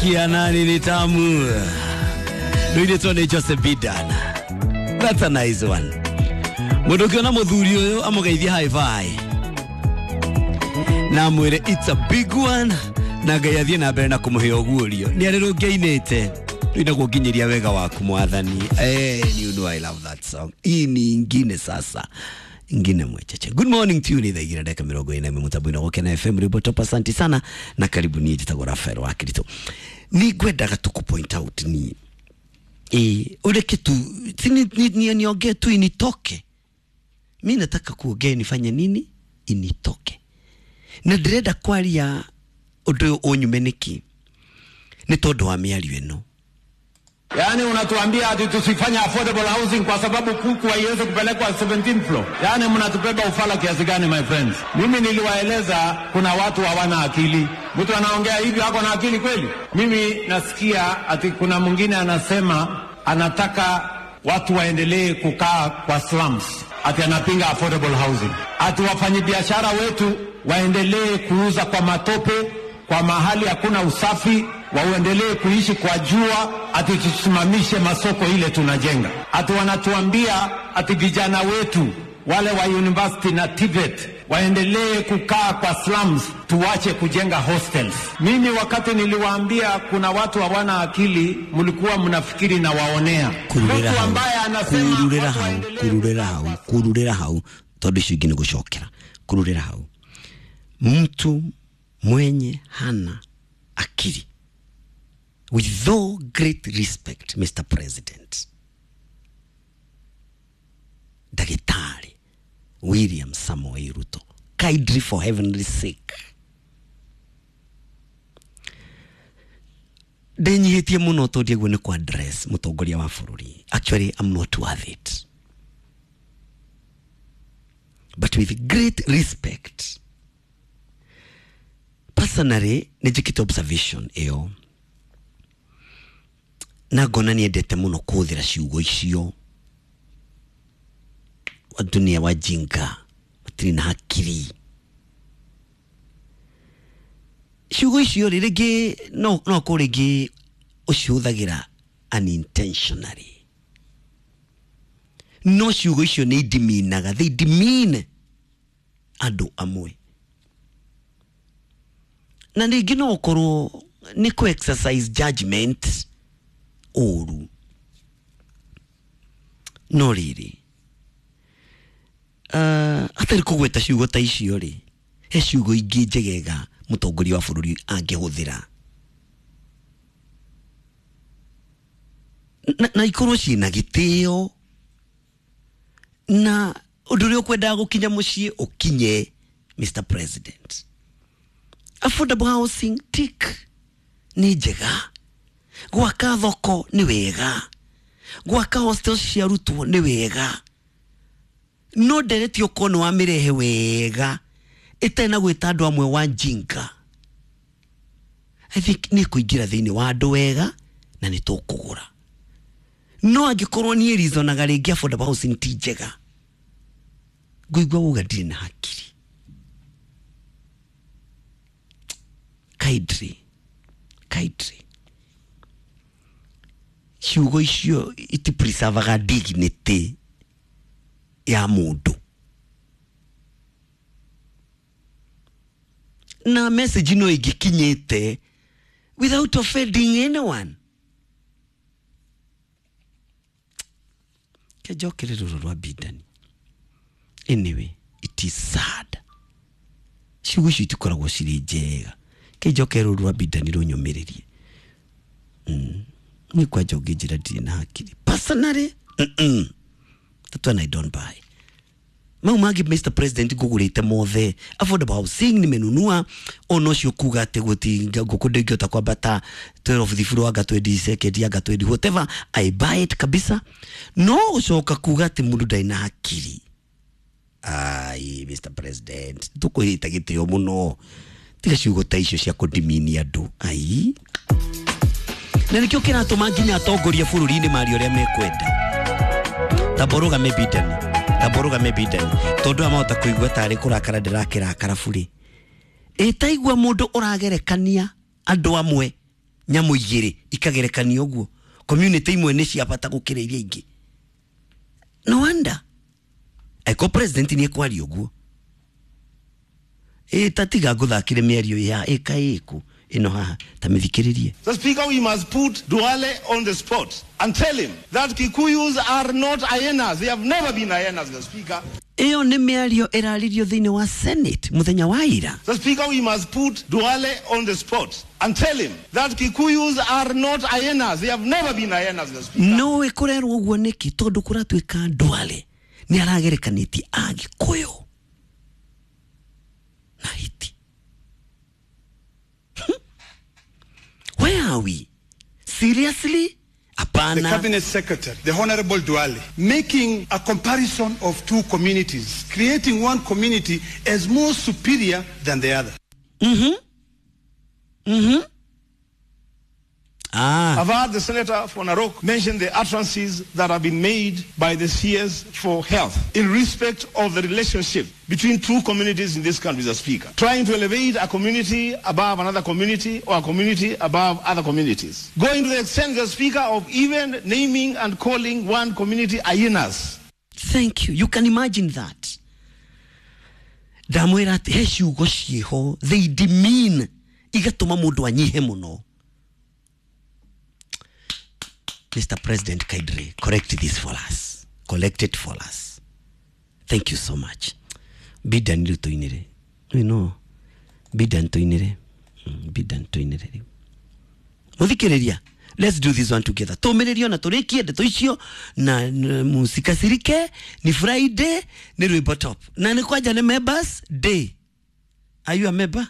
Kia nani ni tamu. Rũirĩtwo nĩ Joseph Bidan. That's a nice one. Mũndũ ũkĩona mũthuri ũyũ amũgeithie high five. Na amwĩre it's a big one na Ngai athiĩ na mbere na kũmũhe ũguũrio. Nĩ arĩ rũngĩainĩte. Rũinagwo nginyĩria wega waku mwathani. Eh, you know I love that song. Hii ni ingine sasa ingine mwecheche. Good morning to you ni thaa igĩrĩ na ndagĩka mĩrongo ĩna ĩmwe mũtambo-inĩ wa Gũkena FM rwĩmbo top. Asante sana na karibu. Niĩ njĩtagwo Rafael wa Kirito. Nĩ ngwendaga tu ku point out ni ureke tu si ni niongee tu initoke. Mi nataka kuongea nifanye nini initoke, na ndĩrenda kwaria ũndũ ũyũ ũnyume nĩkĩ nĩ tondũ wa mĩario ĩno. Yaani unatuambia ati tusifanye affordable housing kwa sababu kuku haiwezi kupelekwa 17 floor. Yaani mnatubeba ufala kiasi gani, my friends? Mimi niliwaeleza kuna watu hawana akili. Mtu anaongea hivyo ako na akili kweli? Mimi nasikia ati kuna mwingine anasema anataka watu waendelee kukaa kwa slums, ati anapinga affordable housing, ati wafanyabiashara wetu waendelee kuuza kwa matope, kwa mahali hakuna usafi, waendelee kuishi kwa jua, ati tusimamishe masoko ile tunajenga. Ati wanatuambia ati vijana wetu wale wa university na TVET waendelee kukaa kwa slums, tuache kujenga hostels. Mimi wakati niliwaambia kuna watu hawana akili, mlikuwa mnafikiri na waonea. Kururĩra Mtu hau, ambaye anasema kururĩra watu hau, waendelee kururĩra hau, kururĩra hau, tondũ icio ingĩ nĩ gũcokera. Kururĩra hau, mtu mwenye hana akili, with all great respect, Mr. President, Daktari William Samoei Ruto, kindly for heavenly sake, ndenyihĩtie mũno tondũ ũguo nĩ kwa address mũtongoria wa bũrũri. Actually, I'm not worth it, but with great respect, personally nĩ njĩkĩte observation ĩyo na ngona nĩendete mũno kũhũthĩra ciugo icio, watu ni wajinga, matirĩ na hakiri. Ciugo icio rĩ, rĩngĩ no korwo rĩngĩ ũcihũthagĩra unintentionally, no ciugo icio nĩ idiminaga, they demean andũ amwe, na rĩngĩ no ũkorwo nĩ kũ exercise judgment ũru, no rĩrĩ hatarĩ kũgweta ciugo ta icio rĩ, he ciugo ingĩ njegega mũtongoria wa bũrũri angĩhũthĩra na ikorwo ciĩna gĩtĩo na ũndũ ũrĩa ũkwendaga gũkinya mũciĩ ũkinye. Mr. President, affordable housing tick nĩ njega, gwaka thoko nĩ wega, gwaka hostels cia arutwo nĩ wega, no ndereti ũkorwo nĩ wamĩrehe wega ĩtarĩ na gwĩta andũ amwe wajinga, I think nĩ kũingĩra thĩinĩ wa andũ wega na nĩ tũkũgũra. No angĩkorwo niĩ reasonaga rĩngĩ affordable housing ti njega, ngũigua uga ndirĩ na hakiri. Kindly, kindly, ciugo icio itipreservaga dignity ya mũndũ, na message no ĩngĩkinyĩte without offending anyone. Kenjokere rũrũ rwa Bidani. Anyway, it is sad, ciugo icio itikoragwo cirĩ njega. Kenjokere rũrũ rwa Bidani rũnyũmĩrĩrie. Nĩ kwanja ũngĩnjĩra ndirĩ na hakiri, personally, that one I don't buy. Mau mangĩ, Mr. President, ngũgũrĩte mothe. Affordable housing nimenunua, ona ũcio kuga atĩ gũti ngũkũ ndĩngĩhota kwambata 12 floor anga 20 second anga 20 whatever, I buy it kabisa. No gũcoka kuga atĩ mũndũ ndarĩ na hakiri, ai Mr. President, tũkũhĩta gĩtĩo mũno, tiga ciugo ta icio cia kũdimini andũ. Ai, na nĩkĩo kĩratũma nginya atongoria bũrũri-inĩ maria ũrĩa mekwenda. Tamborũgame Bidani, tamborũgame Bidani, tondũ aya mahota kũigua tarĩ kũrakara ndĩrakĩrakara burĩ. Ĩtaigua mũndũ ũragerekania andũ amwe. Nyamũ igĩrĩ ikagerekanio ũguo, community imwe nĩ cia bata gũkĩra iria ingĩ. No wonder eko president nĩ ekwaria ũguo. Ĩ tatiga ngũthakire mĩario ya ĩka ĩkũ ĩno haha ta mĩthikĩrĩrie. So, Speaker, we must put Duale on the spot and tell him that Kikuyus are not hyenas. They have never been hyenas, Mr. Speaker. Ĩyo nĩ mĩario ĩraririo thĩinĩ wa Senate mũthenya wa ira. So, Speaker, we must put Duale on the spot and tell him that Kikuyus are not hyenas. They have never been hyenas, Mr. Speaker. No ĩkũrerwo ũguo nĩkĩ? Tondũ kũratuĩka Duale nĩ aragerekanĩtie Agĩkũyũ na hiti. Where are we? Seriously? The Hapana. Cabinet Secretary, the Honorable Duale, making a comparison of two communities, creating one community as more superior than the other. Ah. I've heard the Senator for Narok mention the utterances that have been made by the CS for Health in respect of the relationship between two communities in this country, Mr. Speaker. Trying to elevate a community above another community or a community above other communities. Going to the extent, Mr. Speaker, of even naming and calling one community hyenas. Thank you. You can imagine that. Ndamwĩra atĩ he ciugo ciĩho, they demean, igatũma mũndũ anyihe mũno. Mr. President, kindly correct this for us. Collect it for us. Thank you so much. Bidan rĩu tũinĩre. You know, Bidan tũinĩre. Bidan tũinĩre rĩu. Mũthikĩrĩria, let's do this one together. Tũmĩrĩrio na tũrĩkie ndeto icio na mũsikasirike. Ni Friday, nĩ rwĩmbo top na nĩ kwanja nĩ members day. Are you a member?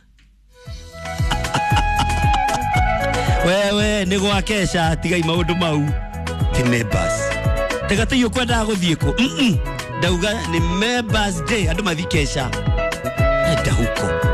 Wewe nĩ gwakesha, tigai maũndũ mau ti members. Tega tĩi ũkwendaga gũthiĩ kũ? Ndauga nĩ members day, andũ mathi kesha enda huko.